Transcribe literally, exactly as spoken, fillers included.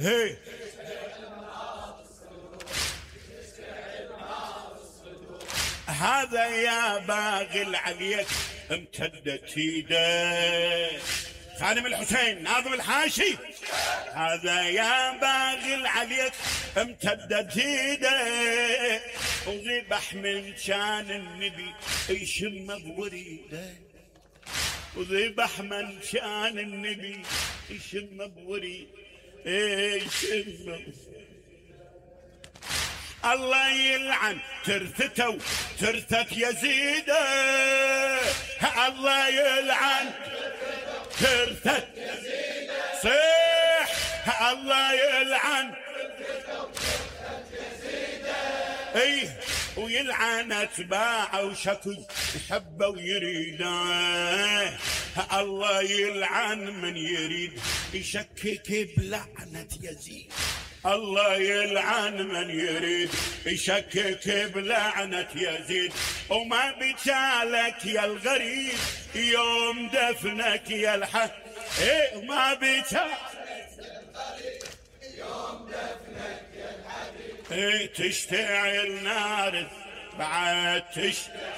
هي هذا يا باغي العليك امتدت ايده. خادم الحسين ناظم الحاشي. هذا يا باغي العليك امتدت ايده، وذبح من شان النبي يشم بوريده، وذبح من شان النبي يشم بوريده يشم. الله يلعن ترثته وترثة يزيد، الله يلعن ترثة يزيد، صيح الله يلعن ايه، ويلعن اتباعه وشكو يحبه ويريده. الله يلعن من يريد يشكك بلعنة يزيد، الله يلعن من يريد يشكك بلعنة يزيد. وما بجالك يا الغريب يوم دفنك يا الحق، ايه وما بجالك يوم دفنك يا الحبيب، ايه تشتعل نار بعد تشتعل